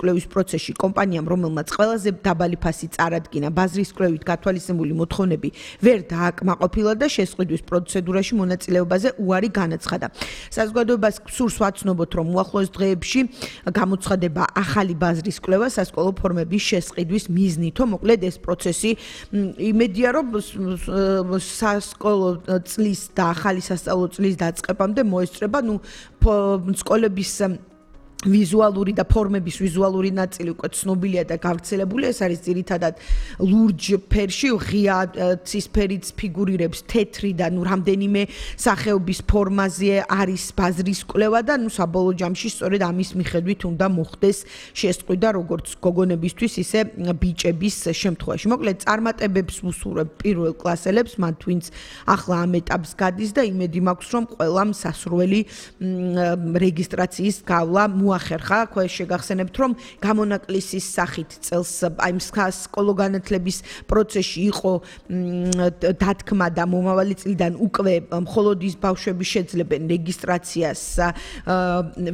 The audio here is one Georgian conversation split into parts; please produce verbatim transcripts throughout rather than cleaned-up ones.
კვლევის პროცესში კომპანიამ, რომელმაც ყველაზე დაბალი ფასი წარადგინა, ბაზრის კვლევით გათვალისწინებული მოთხოვნები ვერ დააკმაყოფილა და შესყიდვის პროცედურაში მონაწილეობაზე უარი განაცხადა. საზოგადოებას სურს ვაცნობოთ, რომ უახლოეს დღეებში გამოცხადება ახალი ბაზრის კვლევა სასკოლო ფორმების შესყიდვის მიზნითო, მოკლედ ეს პროცესი იმედია, რომ სასკოლო წლის და ახალი სასწავლო წლის დაწყებამდე მოესწრება, ნუ სკოლების ვიზუალური და ფორმების ვიზუალური ნაწილი უკვე ცნობილია და გავრცელებული. ეს არის ძირითადად ლურჯ ფერში, ღია ცისფერიც ფიგურირებს თეთრი და ნუ რამდენიმე სახეობის ფორმაზე არის ბაზრის კვლევა და ნუ საბოლოო ჯამში სწორედ ამის მიხედვით უნდა მოხდეს შესწყვიტა როგორც გოგონებისთვის, ისე ბიჭების შემთხვევაში. მოკლედ წარმატებებს ვუსურვებ პირველ კლასელებს, მათ ვინც ახლა ამ ეტაპს გადის და იმედი მაქვს, რომ ყველამ სასურველი რეგისტრაციის გავლა მოახერხა. ხო შეგახსენებთ, რომ გამონაკლისის სახით წელს აი სკოლო განათლების პროცესში იყო დათქმა და მომავალი წლიდან უკვე მხოლოდ ის ბავშვები შეძლებენ რეგისტრაციას,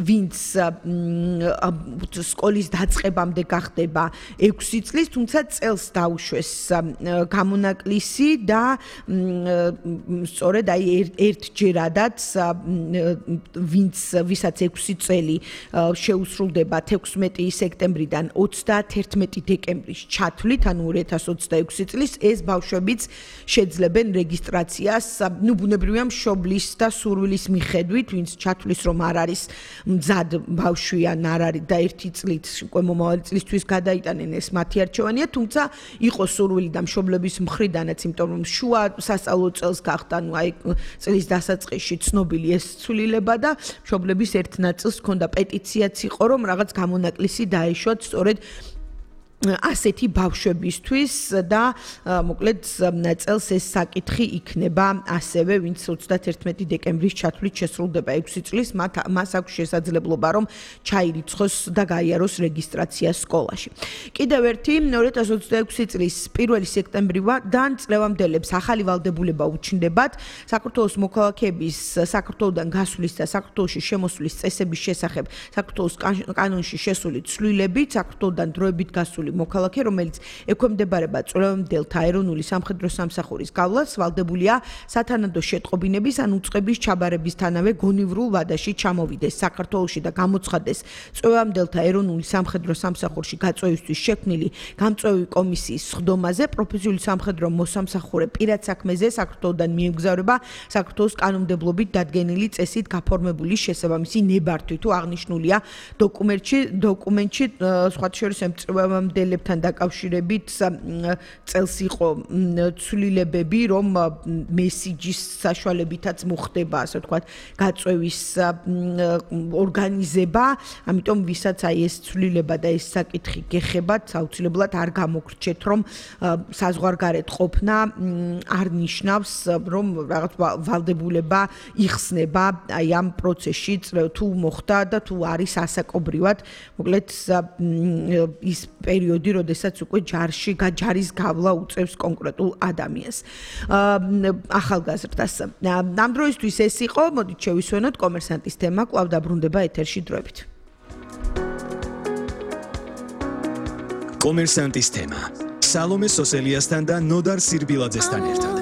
ვინც სკოლის დაწყებამდე გახდება ექვსი წლის, თუმცა წელს დაუშვეს გამონაკლისი და სწორედ აი ერთჯერადაც ვინც ვისაც ექვსი წელი შეუსრულდება თექვსმეტი სექტემბრიდან ოცდაათი დეკემბრის ჩათვლით, ანუ ორი ათას ოცდაექვსი წლის ეს ბავშვებიც შეძლებენ რეგისტრაციას, ნუ ბუნებრივია მშობლის და სურვილის მიხედვით, ვინც ჩათვლის რომ არ არის მზად ბავშვი ან არ არის და ერთი წლით უკვე მომავალი წლისთვის გადაიტანენ, ეს მათი არჩევანია, თუმცა იყო სურვილი და მშობლების მხრიდანაც, იმიტომ რომ შუა სასწავლო წელს გახდა, ნუ აი წლის დასაწყისში ცნობილი ეს ცვლილება და მშობლების ერთ ნაწილს ჰქონდა პეტიციაც იყო, რომ რაღაც გამონაკლისი დაეშვათ სწორედ ასეთი ბავშვებისთვის და მოკლედ წელს ეს საკითხი იქნება ასევე, ვინც ოცდაათი დეკემბრის ჩათვლით შესრულდება ექვსი წლის, მას აქვს შესაძლებლობა, რომ ჩაირიცხოს და გაიაროს რეგისტრაცია სკოლაში. კიდევ ერთი ორი ათას ოცდაექვსი წლის პირველი სექტემბრიდან წლევამდელებს ახალი ვალდებულება უჩნდებათ საქართველოს მოქალაქეების საქართველოდან გასვლის და საქართველოში შემოსვლის წესების შესახებ საქართველოს კანონში შესული ცვლილებით, საქართველოდან დროებით გასული მოქალაქე, რომელიც ექვემდებარება წლევამდელთა ეროვნული სამხედრო სამსახურის გავლას, ვალდებულია სათანადო შეტყობინების ან უწყების ჩაბარებისთანავე გონივრულ ვადაში ჩამოვიდეს საქართველოში და გამოცხადდეს წლევამდელთა ეროვნული სამხედრო სამსახურში გაწვევისთვის შექმნილი გამწვევი კომისიის სხდომაზე, პროფესიული სამხედრო მოსამსახურე პირად საქმეზე საქართველოდან მიემგზავრება საქართველოს კანონმდებლობით დადგენილი წესით გაფორმებული შესაბამისი ნებართვით, თუ აღნიშნულია დოკუმენტში, დოკუმენტში სხვა შორის წლევამდელებთან დაკავშირებით წელს იყო ცვლილებები, რომ მესიჯის საშუალებითაც მოხდება, ასე ვთქვათ, გაწვევის ორგანიზება, ამიტომ ვისაც აი ეს ცვლილება და ეს საკითხი გეხებათ, აუცილებლად არ გამოგრჩეთ, რომ საზღვარგარეთ ყოფნა არ ნიშნავს, რომ რაღაც ვალდებულება იხსნება აი ამ პროცესში, თუ მოხდა და თუ არის ასაკობრივად, მოკლედ ის პერიოდი, როდესაც უკვე ჯარში ჯარის გავლა უწევს კონკრეტულ ადამიანს. ახალგაზრდას. ამ დროისთვის ეს იყო, მოდით შევისვენოთ კომერსანტის თემა, კვლავ დაბრუნდება ეთერში დროებით. კომერსანტის თემა. სალომე სოსელიასთან და ნოდარ სირბილაძესთან ერთად.